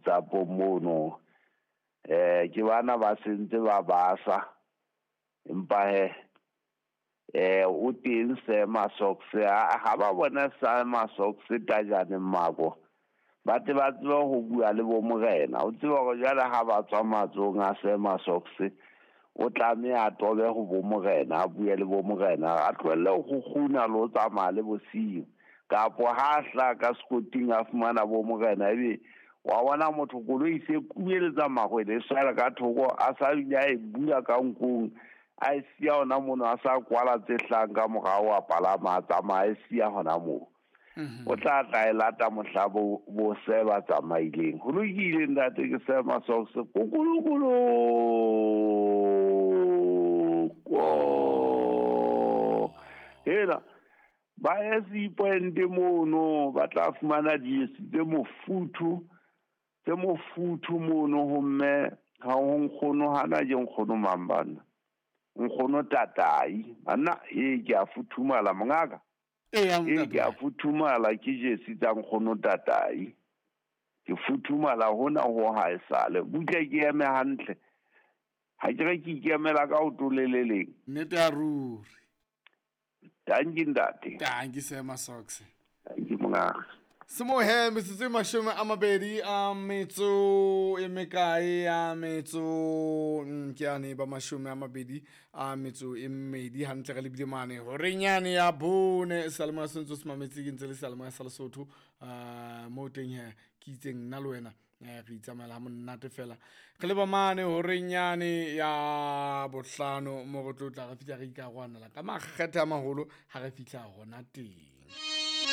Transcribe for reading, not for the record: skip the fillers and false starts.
WhatsApp mono. Ke bana ba sentse ba basa. Empa he o teng Sema Socks ha ba bona Sema Socks tajane mako. Ba tle ba tsebe ho bua le bo morena. O tsebe hore jwale ha ba tswa matsohong a Sema Socks o tlameha a tobe ho bo morena, a bue le bo morena, a tlohelle ho kgukguna le ho tsamaya le bosiu. Kapo ha hla ka sekoting a fumana bo morena ebe wa bona motho koloi se kubeletsa mahwele e swela ka thoko a sa bile a e bula ka nkong a e siya hona mono a sa kwala tse hlang ka morao a palama a tsamaya a e siya hona moo. O tla tla e lata mohla bo se ba tsamaileng. Ho lokile ntate ke Sema Socks kokolokolo. Hela ba ye Point mono ba tla fumana dijesi tse mofuthu mono ho mme ha ho nkgono hana ke nkgono mang bana. Nkgono tatai banna e ke a futhumala mongaka. E ke a futhumala ke jesi tsa nkgono tatai. Ke futhumala hona ho ha e sale. Butle ke eme hantle. Ha ke re ke ikemela ka ho toleleleng. Nnete ya ruri. Danki ntate. Danki Sema Socks. Danki mongaka. Semohe metsotso e 20 a metso e mekae a metso ke ane ba 20 a metso e mmedi hantle re lebile mane horeng yane ya bone seyalemoya se ntse se mametse ke ntse le seyalemoya sa Lesotho mo teng he ke itseng nna le wena re itsamaela ha monate fela re leba mane horeng yane ya bohlano mo re tlo tla re fihla re ikarwanela ka makgethe a maholo ha re fihla hona teng.